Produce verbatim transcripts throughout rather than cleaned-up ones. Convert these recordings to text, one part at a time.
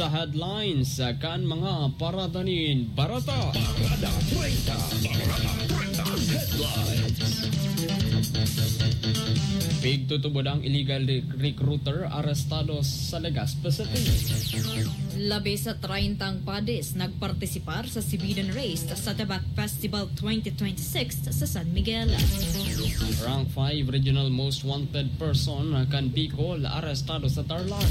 Sa headlines kan mga parada nin barata. Parada treinta, Parada treinta headlines. Pigtutubod ang illegal rec-, recruiter arestado sa Legazpi City. Labi sa treinta ang padis nagpartisipar sa Sibidan Race sa Tabac Festival twenty twenty-six sa San Miguel. Rank five Regional Most Wanted Person kan Bicol arestado sa Tarlac.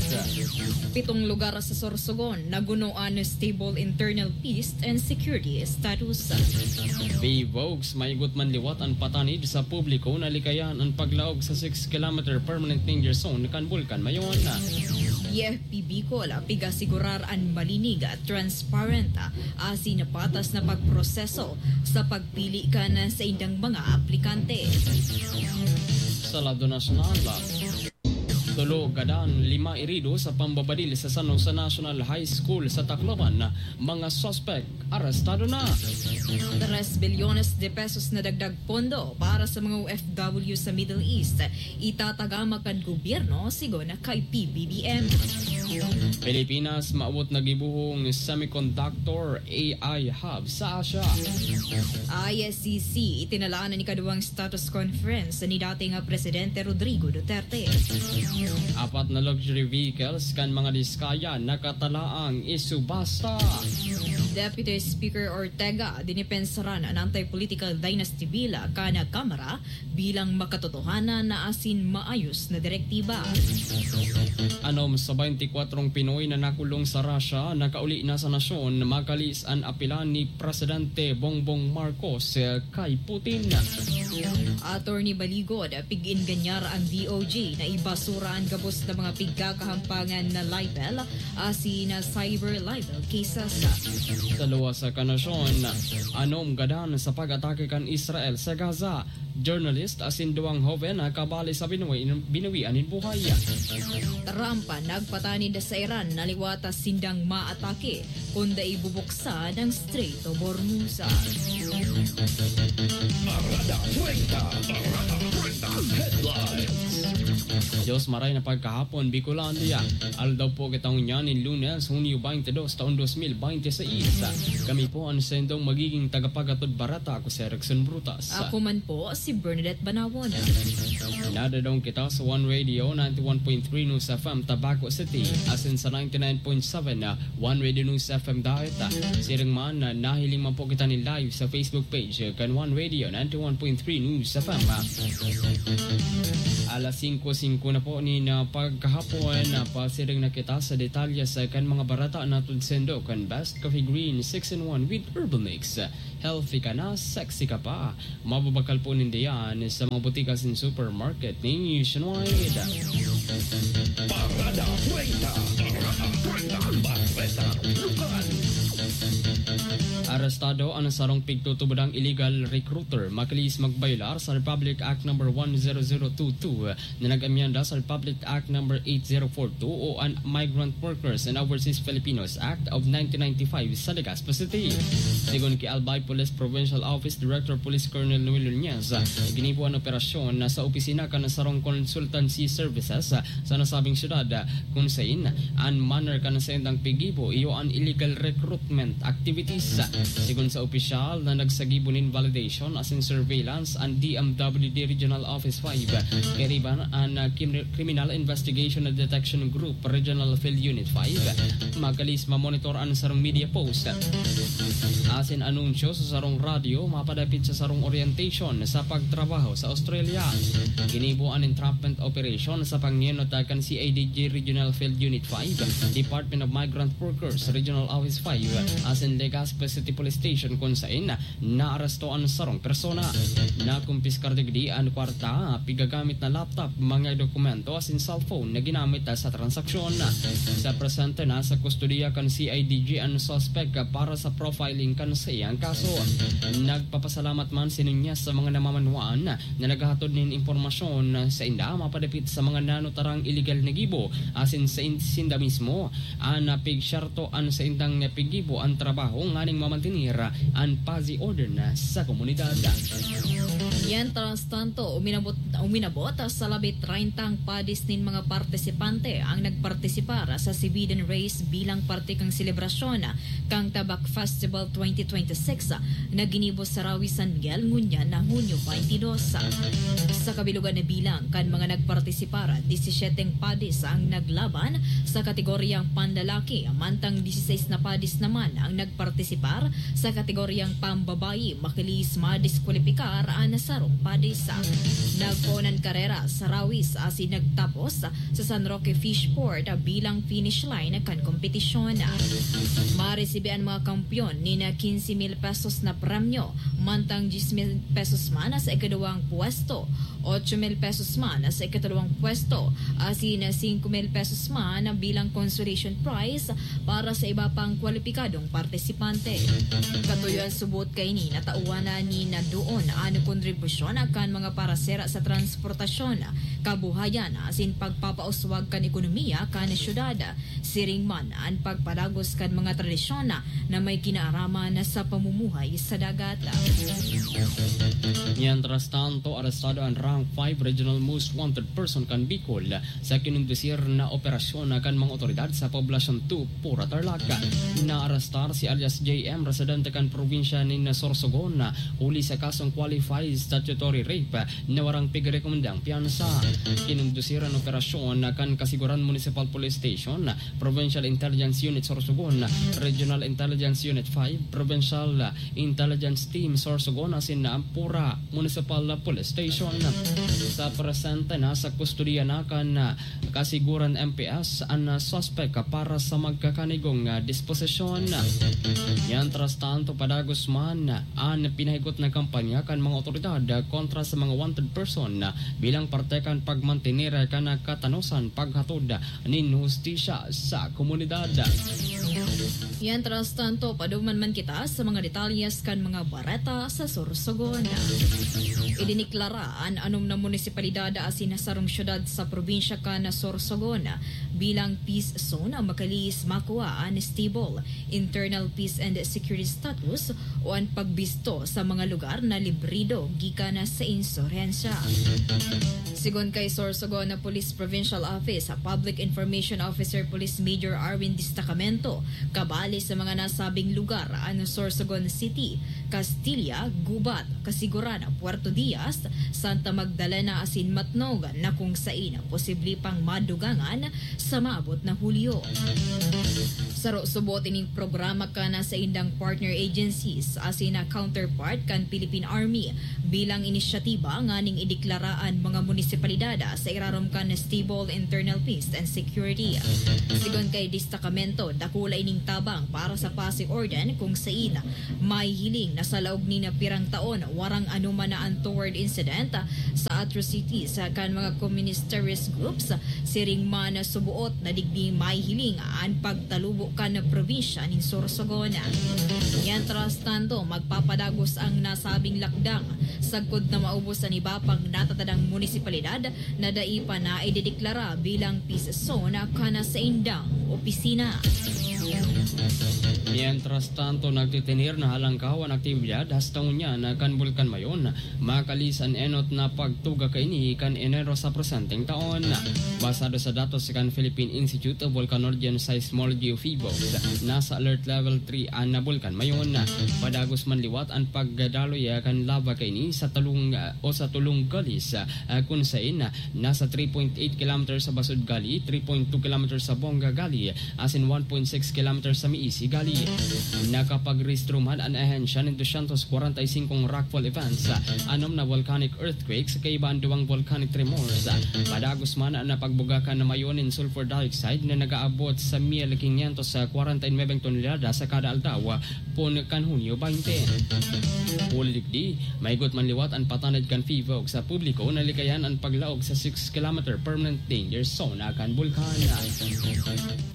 Pitong lugar sa Sorsogon naguno an stable internal peace and security status. Vivox, maigot man liwat an patanid sa publiko na likayan an paglaog sa six kilometer permanent danger zone kan Bulkan Mayon. P Bicol, pig-asigurar an malinig, transparent, asin patas na pagproseso sa pagpili kan saindang mga aplikante. Sa lado nasyonal, tulo gadan, lima irido sa pambabadil sa San Jose National High School sa Tacloban, mga suspek arestado na. Tres bilyones de pesos na dagdag pondo para sa mga O F W sa Middle East, itatagama kan gobyerno, sigon kay P B B M. Pilipinas, maabot na gibohong semiconductor A I hub sa Asia. I S C C, itinalanan ni kaduwang status conference ni dating Presidente Rodrigo Duterte. Apat na luxury vehicles kan mga Diskaya nakatalaang isubasta. Deputy Speaker Ortega, dinipensaran an anti-political dynasty bill kan Kamara bilang makatotohanan na asin maayos na direktiba. Anom sa baynti kwatrong Pinoy na nakulong sa Russia, nakauli na sa nasyon, makalis an apila ni Presidente Bongbong Marcos, eh, kay Putin. Attorney Baligod, pig-inganyar ang D O J na ibasura an gabos na mga pigkakahampangan na libel asin na cyber libel cases. Sa luwas sa kanasyon, anom gadan sa pag-atake kan Israel sa Gaza, journalist asin duwang hoben nakabali sa binuwi-, binuwian nin buhay. Trump nagpatanid sa Iran na liwat sindang maatake kun dai bubuksan ang Strait of Hormuz. Parada treinta, Parada treinta headlines. Diyos maray na pagkahapon, Bicolandia. Aldaw po kita ngunyan nin Lunes, Hunyo twenty-two, taon dos mil binte seis. Kami po ang sendong magiging tagapaghatod barata. Ako si Erickson Brutas. Ako man po, si Bernadette Banawon. Nadadong kita sa One Radio ninety-one point three News F M Tabaco City, asin sa ninety-nine point seven na One Radio News F M Daet. Siring man na nahiling man po kita ni live sa Facebook page kan One Radio ninety-one point three News F M. Alas singko singko na po nin pagkahapon, pasiring na kita sa detalye sa kan mga barata na tudsindo kan Best Coffee Green six in one with Herbal Mix. Healthy ka na, sexy ka pa. Mababakal po ninda yan sa mga botika asin supermarket nationwide. Parada treinta, Parada treinta, Bareta Lukan. Arestado an sarong pigtutubodang illegal recruiter, makilis magbayolar sa Republic Act number one zero zero two two na nag-amyenda sa Republic Act number eight zero four two o an Migrant Workers and Overseas Filipinos Act of nineteen ninety-five sa Legazpi City. Sigon ki Albay Police Provincial Office Director Police Colonel Noel Nunez, ginibo an operasyon na sa opisina kan sarong consultancy services sa nasabing syudad, kun sain an manner kan saindang piggibo iyo an illegal recruitment activities. Sigon sa opisyal na nagsagibo nin validation asin surveillance an D M W D Regional Office five, kairiba an, ah, Kim-, Criminal Investigation and Detection Group Regional Field Unit five, makalis mamonitor an sarong media post asin anunsyo sa sarong radyo mapadapit sa sarong orientation sa pagtrabaho sa Australia. Ginibo an entrapment operation sa pangenot kan C I D G Regional Field Unit five, Department of Migrant Workers Regional Office five, asin Legazpi City Police Station, kun sain naaresto an sarong persona. Nakumpiskar digdi an kwarta, pigagamit na laptop, mga dokumento asin cellphone na ginamit sa transaksyon. Sa presente, nasa kustodiya kan C I D G an suspek para sa profiling kan saiyang kaso. Nagpapasalamat man si Nunez sa mga namamanwaan na naghahatod nin impormasyon sainda mapadapit sa mga nanutarang iligal na gibo asin sa in-, sinda mismo an pigsyarto an saindang piggibo an trabaho nganing mamantener an paz y orden sa komunidad. Mientras tanto, uminabot Uminabot sa labi treyntang padis nin mga partisipante ang nagpartisipar sa Sibidan Race bilang parte kan selebrasyon kan Tabak Festival twenty twenty-six na ginibo sa Rawi San Miguel ngunyan na Hunyo twenty-two. Sa kabilugan na bilang kan mga nagpartisipar, disisyeteng padis ang naglaban sa kategoryang panlalaki, mantang dieciséis na padis naman ang nagpartisipar sa kategoryang pambabayi. Makilis madiskwalipikar an sarong padis. Nagpoon an karera sa Rawis asin nagtapos sa San Roque Fishport bilang finish line kan kompetisyon. Maresibe an mga kampeon nin quince mil pesos na premyo, mantang diyes mil pesos man sa ikaduwang pwesto, ocho mil pesos man sa ikatlong pwesto, asin singko mil pesos man bilang consolation prize para sa iba pang kwalipikadong partisipante. Katuyoan subot kaini, natawan na ni na doon an kontribusyon kan mga parasera sa transportasyon, kabuhayan asin pagpapauswag kan ekonomiya kan syudad. Siring man an pagpadagos kan mga tradisyon na may kinaaraman sa pamumuhay sa dagat. Mientras tanto, arestado an Rank five Regional Most Wanted Person kan Bicol sa kinondusir na operasyon kan mga otoridad sa Poblacion two, Pura, Tarlac. Naarestar si alias J M, residente kan probinsya nin Sorsogon, huli sa kasong qualified statutory rape na warang pigrekomendang piyansa. Kinondusir an operasyon kan Kasiguran Municipal Police Station, Provincial Intelligence Unit Sorsogon, Regional Intelligence Unit five, Provincial Intelligence Team Sorsogon asin Pura Municipal Police Station. Sa presente, nasa kustodiya na kan Kasiguran M P S an suspek para sa magkakanigong disposisyon. Mientras tanto, padagos man an pinahigot na kampanya kan mga otoridad kontra sa mga wanted person bilang parte kan pagmantener kan katanosan paghatod nin hustisya sa komunidad. Mientras tanto, paduman man kita sa mga detalyes kan mga bareta sa Sorsogon. Idineklara an anom na munisipalidad asin sarong syudad sa probinsya kan Sorsogon bilang peace zone, makilis makua an stable internal peace and security status o an pagbisto sa mga lugar na librido gikan sa insurhensya. Sigon kay Sorsogon Police Provincial Office Public Information Officer Police Major Arwin Destacamento, kabali sa mga nasabing lugar an Sorsogon City, Castilla, Gubat, Kasiguran, Puerto Diaz, Santa Magdalena asin Matnog, na kung sain posible pang madugangan sa maabot na Hulyo. Saro subot ining programa kan saindang partner agencies asin na counterpart kan Philippine Army bilang inisyatiba nganing ideklara an mga munisipalidad sa irarom kan stable internal peace and security. Sigon kay Destakamento, dakula ining tabang para sa Pasay Orden kung sain mahihiling na sa laog nin pirang taon warang anoman na untoward incident sa atrocities kan mga communist terrorist groups. Siring man, suboot na digdi mahihiling an pagtalubo kan probinsya nin Sorsogon. Mientras tanto, magpapadagos ang nasabing lakdang sagkod na maubos an iba pang natatadang munisipalidad na dai pa naidedeklara bilang peace zone kan saindang opisina. Mientras tanto, nagtitener na halangkaw an aktibidad hasta ngunyan kan Bulkan Mayon. Makilis an enot na pagtuga kaini kan Enero sa presenteng taon. Basado sa datos kan Philippine Institute of Volcanology and Seismology o PHIVOLCS, nasa alert level three an Bulkan Mayon. Padagos man liwat an pagdaloy kan lava kaini sa tulong, o sa tulong galis, ah, kun sain nasa three point eight kilometers sa Basud Gali, three point two kilometers sa Bonga Gali, asin one point six kilometers sa Miisi Gali. Nakapagrehistro man an ahensya nin dosyentos kwarenta y singkong rockfall events, anom na volcanic earthquakes, kaiba an duwang volcanic tremors. Padagos man an napagbugakan na mayo nin sulfur dioxide na nag-aabot sa mil quinientos kwarenta y nuwebeng tonelada sa kada aldaw, poon kan Hunyo baynte. Huli digdi, maigot man liwat an patanid kan PHIVOLCS sa publiko na likayan an paglaog sa six kilometer permanent danger zone kan bulkan.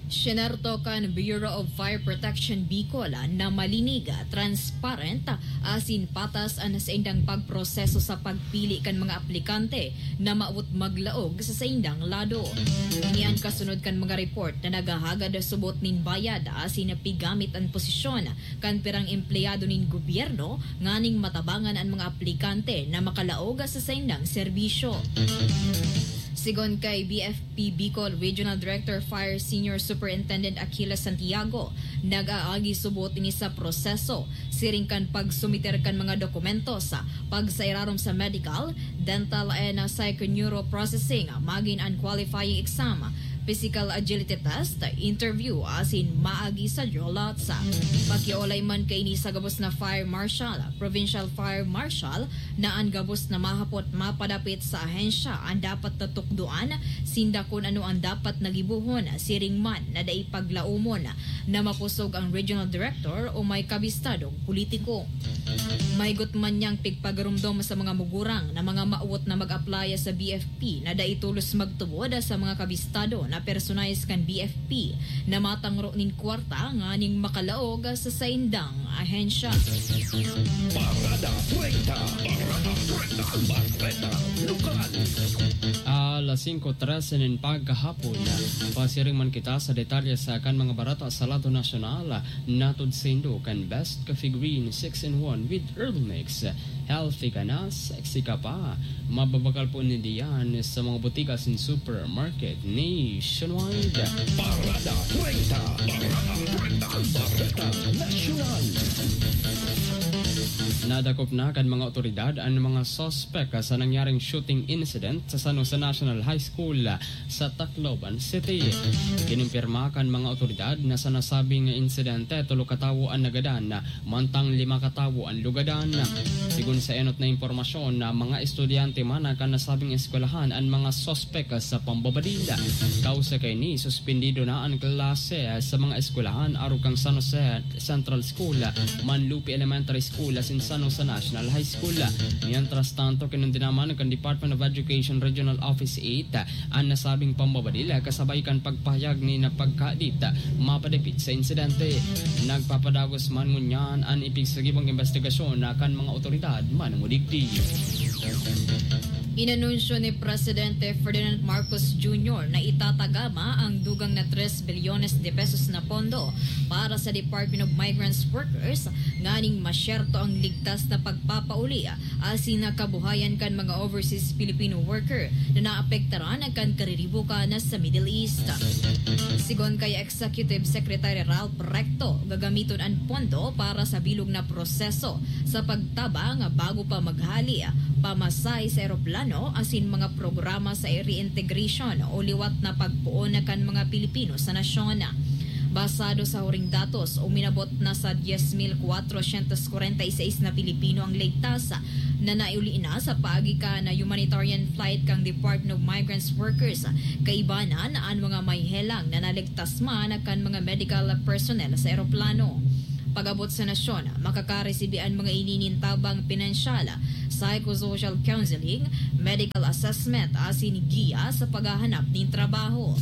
Sinerto kan Bureau of Fire Protection Bicol na malinig, transparent, asin patas an saindang pagproseso sa pagpili kan mga aplikante na mawot maglaog sa saindang lado. Ini an kasunod kan mga report na naghahagad subot nin bayad asin pigamit an posisyon kan pirang empleyado nin gobyerno nganing matabangan an mga aplikante na makalaog sa saindang serbisyo. Sigon kay B F P Bicol Regional Director Fire Senior Superintendent Achilles Santiago, nag-aagi subot ini sa proseso, siring kan pagsumiter kan mga dokumento sa pagsairarom sa medical, dental and psychoneuroprocessing, magin an qualifying exam, physical agility test, interview, asin maagi sa draw lots. Pakiolay man kaini sa gabos na fire marshal, provincial fire marshal, na an gabos na mahapot mapadapit sa ahensya an dapat na tukdoan, sinda kun ano an dapat na gibohon, siring man na dai paglaomon na makosog ang regional director o may kabistadong politiko. Maigot man niyang pigpagarumdom sa mga mugurang na mga mawot na mag-apply sa B F P na dai tolos magtubod sa mga kabistado na personahe kan B F P na matangro nin kwarta nganing makalaog sa saindang ahensya. Parada treinta. Parada treinta. Bareta Lokal. Alas singko trese nin pagkahapon, pasiring man kita sa detalye sa kan mga bareta sa lado nasyonal. Natod saindo kan Best Coffee Green six-in-one with Herbal Mix. Healthy ka na, sexy ka pa. Mababakal po ninda yan sa mga botika asin supermarket nationwide. Parada treinta. Parada treinta. Bareta Nasyonal. Nadakop na kan mga otoridad an mga suspek sa nangyaring shooting incident sa San Jose National High School sa Tacloban City. Kinumpirma kan mga otoridad na sa nasabing insidente, tolo ka tawo an nagadan, mantang lima ka tawo an lugadan. Sigon sa enot na impormasyon, na mga estudyante man kan nasabing eskwelahan an mga suspek sa pambabadil. Kausa kaini, suspendido na an klase sa mga eskwelahan arog kan San Jose Central School, Manlupi Elementary School asin San Jose National High School. Mientras tanto, kinundina man kan Department of Education Regional Office eight an nasabing pambabadil, kasabay kan pagpahayag nin pagkahadit mapadapit sa insidente. Nagpapadagos man ngunyan an ipigsagibong imbestigasyon kan mga otoridad manungudigdi. Inanunsyo ni Presidente Ferdinand Marcos Junior na itatagama ang dugang na tres bilyones de pesos na pondo para sa Department of Migrants Workers nganing masyerto ang ligtas na pagpapauli asin na kabuhayan kan mga overseas Filipino worker na naapektaran kan kariribukan sa Middle East. Sigon kay Executive Secretary Ralph Recto, gagamiton an pondo para sa bilog na proseso sa pagtabang bago pa maghali, pamasahe sa eroplano asin mga programa sa reintegration o liwat na pagpoon kan mga Pilipino sa nasyon. Basado sa huring datos, uminabot na sa dies mil kwatrosyentos kwarenta y seis na Pilipino ang ligtas na naiuli na sa paagi kan humanitarian flight kan Department of Migrants Workers. Kaibanan an mga may helang na naligtas man kan mga medical personnel sa eroplano. Pag-abot sa nasyon, makakaresibi an mga ini nin tabang pinansyal, psychosocial counseling, medical assessment, asin giya sa paghahanap nin trabaho.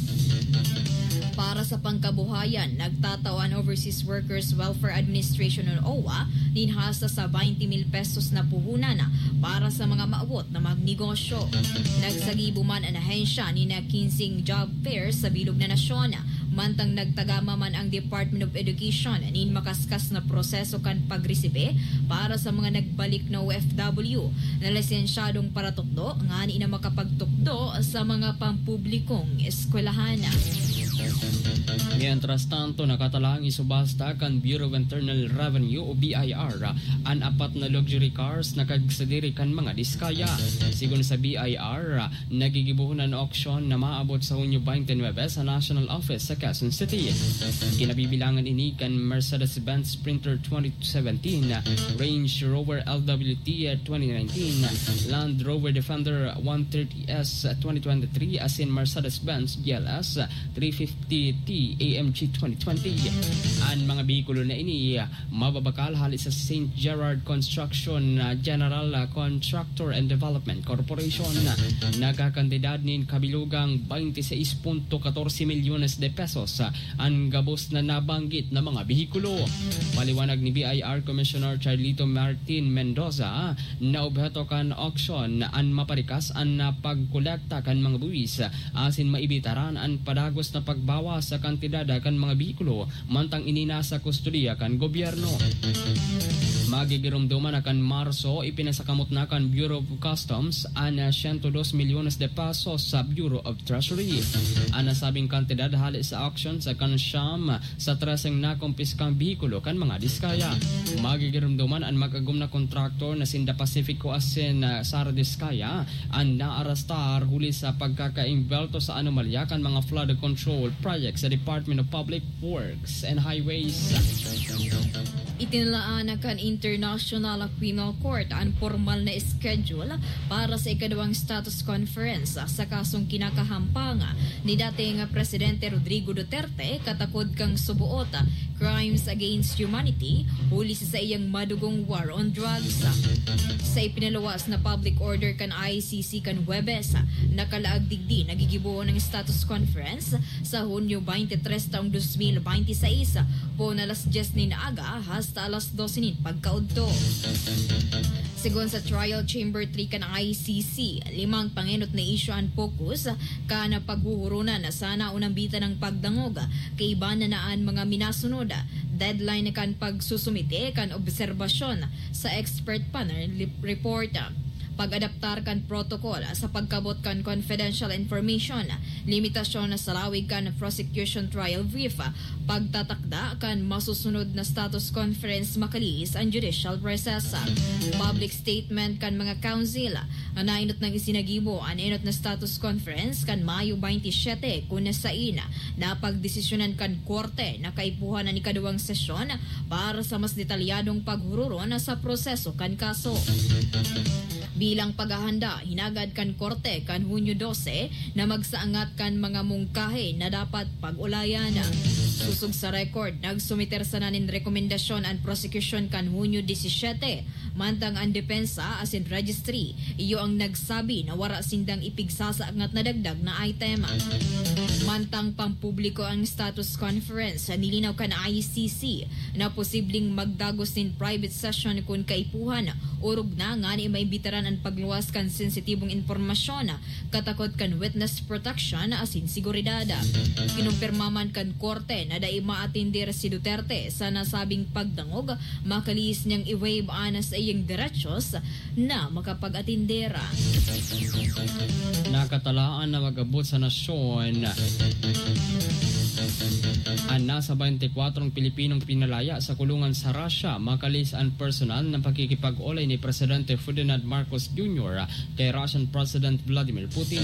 Para sa pangkabuhayan, nagtatao an Overseas Workers Welfare Administration o OWWA nin hasta sa twenty mil pesos na puhunan para sa mga maawot na magnegosyo. Nagsagibo man an ahensya nin kinseng job fair sa bilog na nasyon. Mantang nagtagama man ang Department of Education nin makaskas na proseso kan pagresibe para sa mga nagbalik na O F W na lisensyadong paratukdo ngani na makapagtukdo sa mga pampublikong eskwelahan. Mientras tanto, nakatalang isubasta kan Bureau of Internal Revenue o B I R an apat na luxury cars na kagsadiri kan mga Diskaya. Sigon sa B I R, nagigibohon an auction na maabot sa Hunyo twenty-nine sa National Office sa Quezon City. Kinabibilangan ini kan Mercedes-Benz Sprinter twenty seventeen, Range Rover L W T twenty nineteen, Land Rover Defender one thirty S twenty twenty-three, asin Mercedes-Benz G L S three fifty T A M G twenty twenty. An mga behikulo na ini mababakal hali sa Saint Gerard Construction, ah, General, ah, Contractor and Development Corporation. Nagkakantidad nin kabilugang twenty-six punto katorse milyones de pesos, ah, an gabos na nabanggit na mga behikulo. Paliwanag ni B I R Commissioner Charlito Martin Mendoza, na obheto kan auction an maparikas an, ah, pagkolekta kan mga buwis asin maibitaran an padagos na pagbawas sa kantidad kan mga behikulo mantang ini nasa kustodiya kan gobyerno. Magigiromdoman na kan Marso, ipinasakamot na kan Bureau of Customs an, ah, siyento dos milyones de pesos sa Bureau of Treasury. An nasabing kantidad hale sa auction sa kan siyam sa treseng nakumpiskang behikulo kan mga Diskaya. Magigiromdoman an mag-agom na kontraktor na sinda Pacifico asin, ah, Sara Diskaya an naarastar huli sa pagkakaimbelto sa anomalya kan mga flood control project sa Department of Public Works and Highways. Itinalaan na kan International Criminal Court an pormal na schedule para sa ikaduwang status conference sa kasong kinakahampang ni dating Presidente Rodrigo Duterte katakod kan suboot crimes against humanity huli sa saiyang madugong war on drugs. Sa ipinaluwas na public order kan I C C kan Huwebes, nakalaag digdi nagigibo ang status conference sa Hunyo twenty-three taong dos mil binte y seis, poon alas dyes nin aga hasta alas dose nin pagkaudto. Segun sa Trial Chamber three kan I C C, limang pangenot na isyu an focus kan paghuhuronan na sana o nambitan ng pagdangog, kaiba na na an mga minasunod. Deadline kan pagsusumite kan obserbasyon sa expert panel lip-, report, pag-adaptar kan protocol sa pagkabot kan confidential information, limitasyon na sa lawig kan prosecution trial brief, pagtatakda kan masusunod na status conference makalihis an judicial process. Public statement kan mga counsel, nainot nang isinagibo an enot na status conference kan Mayo twenty-seven, kun sain napagdesisyonan kan korte na kaipuhan an ikaduwang sesyon para sa mas detalyadong paghururon sa proseso kan kaso. Bilang paghahanda, hinagad kan korte kan Hunyo dose na magsaangat kan mga mungkahi na dapat pag-ulayan. Sosog sa record, nagsumiter sana nin rekomendasyon an prosekusyon kan Hunyo disisiyete, mantang an depensa asin registry iyo ang nagsabi na wara sindang ipigsasaangat na dagdag na item. Mantang pampubliko ang status conference, nilinaw kan I C C na posibleng magdagos nin private session kun kaipuhan, orog na ngani maimbitaran an pagluwas kan sensitibong impormasyon, katakot kan witness protection asin seguridad. Kinumpirma man kan korte na dai maatender si Duterte sa nasabing pagdangog, makalihis niyang i-waive an saiyang derechos na makapag-atender. Nakatalaan na mag-abot sa nasyon an nasa twenty-four Pilipinong pinalaya sa kulungan sa Russia, makalihis an personal na pakikipag-olay ni Presidente Ferdinand Marcos Junior kay Russian President Vladimir Putin.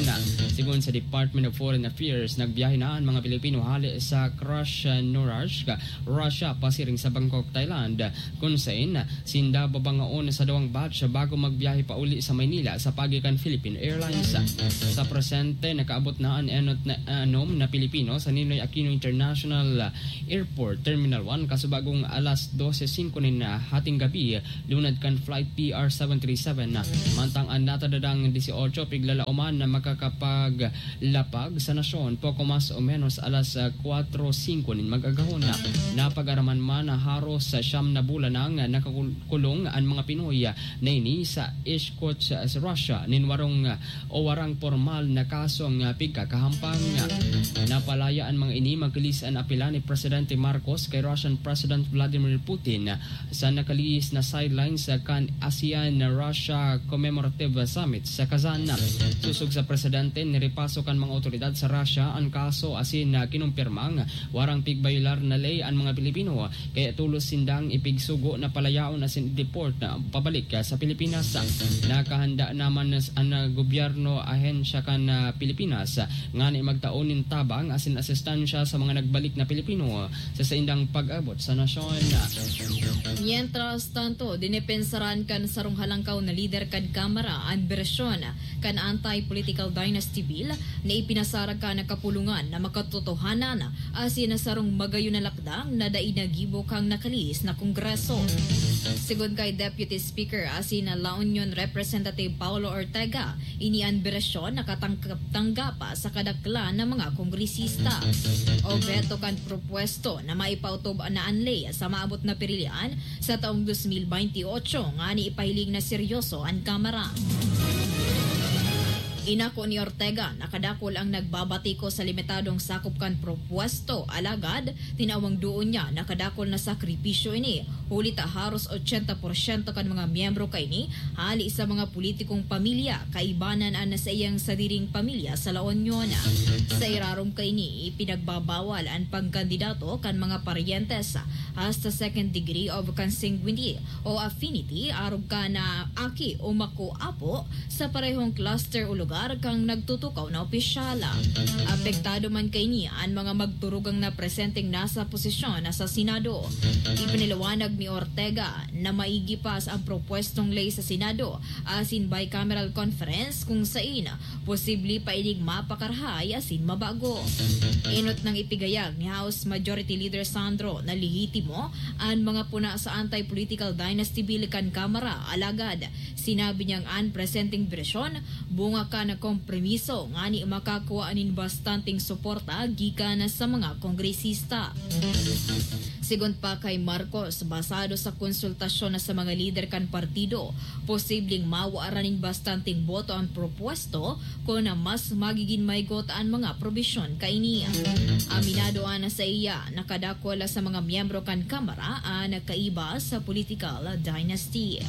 Segun sa Department of Foreign Affairs, nagbiyahe na an mga Pilipino hale sa Krasnoyarsk, Russia, pasiring sa Bangkok, Thailand, kun sain sinda babangaon sa duwang batch bago magbiyahe pauli sa Maynila sa paagi kan Philippine Airlines. Sa presente, nakaabot na an enot na anom na Pilipino sa Ninoy Aquino International Airport, Terminal one, kasubagong alas dose singko nin hating gabi, lunad kan flight P R seven three seven. Mantang an natadadang dieciocho piglalaoman na makakapaglapag sa nasyon, poko mas o menos alas, ah, kwatro singko nin mag-agahon. Napag-araman man na haros sa siyam na bulan nang nakakulong an mga Pinoy na ini sa Irkutsk, sa Russia, nin warong, ah, o warang pormal na kasong, ah, pigkakahampang. Napalaya an mga ini, makalihis an apela ni Presidente Marcos kay Russian President Vladimir Putin sa nakalihis na sidelines kan ASEAN-Russia Commemorative Summit sa Kazan. Sosog sa presidente, nirepaso kan mga otoridad sa Russia an kaso asin, ah, kinumpirmang warang pigbayolar na ley an mga Pilipino, kaya tolos sindang ipigsugo na palayaon asin i-deport na pabalik sa Pilipinas. Nakahanda naman na s-, an, ah, gobyerno ahensya kan, ah, Pilipinas ngani magtao nin tabang asin asistansya sa mga nagbalik na Pilipino sa saindang pag-abot sa nasyon. Mientras tanto, dinepensaran kan sarong halangkaw na lider kan Kamara an bersyon kan Anti-Political Dynasty Bill na ipinasarag kan kapulungan na makatotohanan asin na sarong magayon na lakdang na dai nagibo kan nakalihis na Kongreso. Sigon kay Deputy Speaker asin La Union Representative Paulo Ortega, ini an bersyon na katangkap-tanggap sa kadaklan na mga kongresista. Obheto kan propwesto na maipautob na an ley sa maabot na pirilian sa taong dos mil baynte otso ngani ipahiling na seryoso an Kamara. Inako ni Ortega na kadakul ang nagbabatiko sa limitadong sakop kan propwesto, alagad tinawang doon niya na kadakul na sakripisyo ini, huli ta haros ochenta porsyento kan mga miyembro kaini hali sa mga politikong pamilya, kaibanan an saiyang sadiring pamilya sa La Union. Sa irarom kaini, ipinagbabawal an pagkandidato kan mga paryentes hasta second degree of consanguinity o affinity, arog kan aki o mako-apo sa parehong cluster o lugar kan nagtutukaw na opisyal. Apektado man kaini an mga magturugang na presenteng nasa posisyon na sa Senado. Ipinaliwanag ni Ortega na maigi pa sa ang propwestong ley sa Senado asin bicameral conference kung sain posible pa ining mapakarahay asin mabago. Enot nang ipigayag ni House Majority Leader Sandro na lehitimo an mga puna sa Anti-Political Dynasty Bill kan Kamara, alagad sinabi niyang an presenteng bersyon bunga kan kompromiso ngani makakua nin bastanteng suporta gikan sa mga kongresista. Sigon pa kay Marcos, basado sa konsultasyon na sa mga lider kan partido, posibleng mawaran nin bastanteng boto an propwesto kun mas magigin maygot an mga probisyon kaini. Aminado an saiya na kadakul sa mga miyembro kan Kamara an kaiba sa political dynasty.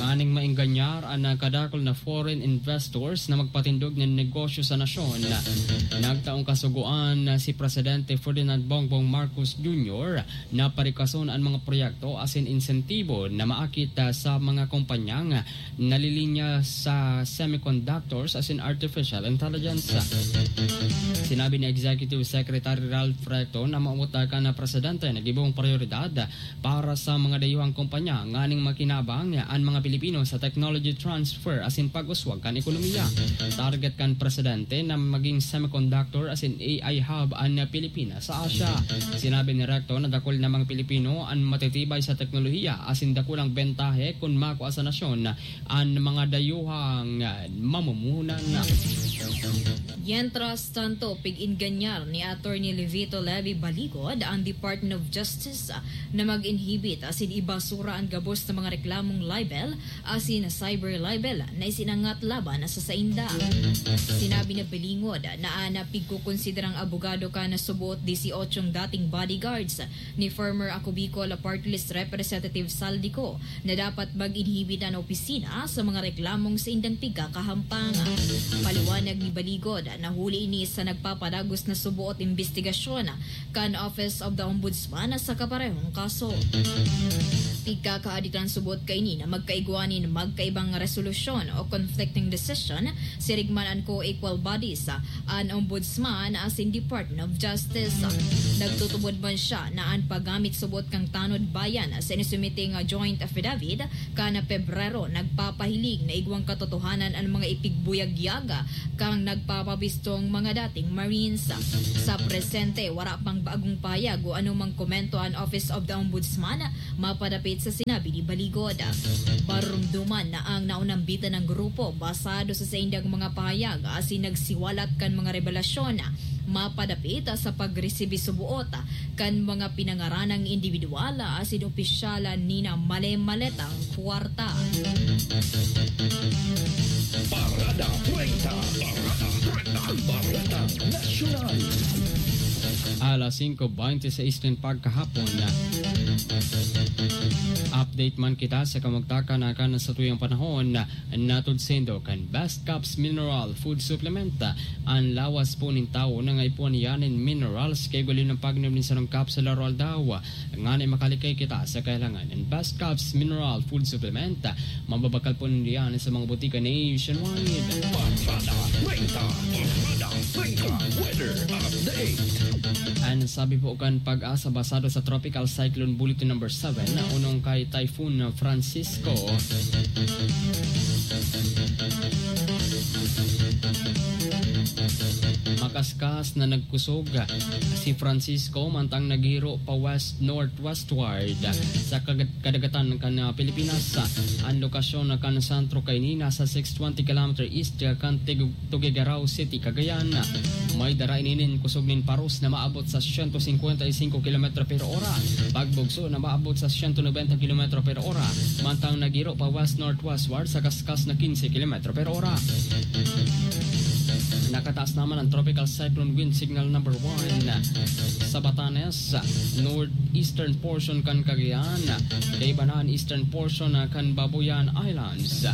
Nganing maenganyar an kadakul na foreign investors na magpatindog nin negosyo sa nasyon, nagtaong kasugoan na si Presidente Ferdinand Bongbong Marcos Junior na parikason an mga proyekto asin insentibo na maakit, ah, sa mga kompanyang nalilinya sa semiconductors asin artificial intelligence. Sinabi ni Executive Secretary Ralph Recto na mamuta kan presidente na gibong prioridad para sa mga dayuhang kompanya nganing makinabang an mga Pilipino sa technology transfer asin pag-uswag kan ekonomiya. Target kan presidente na maging semiconductor asin A I hub an Pilipinas sa Asia. Sinabi ni Recto na dakul na mga Pilipino an matitibay sa teknolohiya asin dakulang bentahe kun makua sa nasyon an mga dayuhang mamumuhunan. Mientras tanto, pig-inganyar ni Attorney Levito Levy Baligod ang Department of Justice na mag-inhibit asin ibasura an gabos na mga reklamong libel asin cyber libel na isinangat laban sa sainda. Sinabi ni Baligod na an pigkokonsiderang abogado kan suboot disiotsyong dating bodyguards ni former Ako Bicol Party List Representative Saldico na dapat mag-inhibit an opisina sa mga reklamong saindang pigkakahampang. Paliwanag ni Baligod na huli ini sa nagpapadagos na suboot imbestigasyon kan Office of the Ombudsman sa kaparehong kaso. Pigkakaaditan suboot kaini na magkaigwa nin magkaibang resolusyon o conflicting decision, siring man an co-equal bodies, an Ombudsman asin Department of Justice. Nagtutubod man siya na an paggamit suboot kan tanod bayan sa inisumiting joint affidavit kan Pebrero nagpapahiling na igwang katotohanan an mga ipigbuyagyag kan nagpapabistong mga dating Marines. Sa presente, wara pang bagong pahayag o anumang komento an Office of the Ombudsman mapadapit sa sinabi ni Baligod. Marumduman na ang naunambitan ng grupo basado sa saindang mga pahayag asin nagsiwalat kan mga rebelasyon mapadapit sa pagresibi suboot kan mga pinangaranang individual asin opisyal ni na male-maletang kwarta. Parada treinta. Parada treinta. Parada Nasyonal. Alas singko bente seis nin pagkahapon. Update man kita sa kamugtakan na kan sa tuyang panahon, natod saindo kan Best Caps Mineral Food Supplement. An lawas po nin tawo nangaipuhan niya nin minerals kay gali ng pagnom nin sarong kapsula aldaw-aldaw. Ngani makalikay kita sa kahilangan nin Best Caps Mineral Food Supplement. Mababakal po ninda yan sa mga botika nationwide. Barkada treinta, Barkada treinta, weather update. An sabi po kan PAGASA basado sa Tropical Cyclone Bulletin Number seven, unong kay Typhoon Francisco, makaskas na nagkusog si Francisco mantang naghiro pa west-northwestward sa kag- kadagatan kan, ah, Pilipinas. An lokasyon kan sentro kaini nasa six twenty kilometer east kan Tig-, Tuguegarao City, Cagayan. May dara ini nin kusog nin paros na maabot sa siyento singkwenta y singko kilometro per ora, pagbugso na maabot sa siyento nobenta kilometro per ora, mantang naghiro pa west-northwestward sa kaskas na quince kilometro per ora. Nakataas naman ang Tropical Cyclone Wind Signal Number One sa Batanes, northeastern portion kan Cagayan, kaiba na an eastern portion kan Babuyan Islands.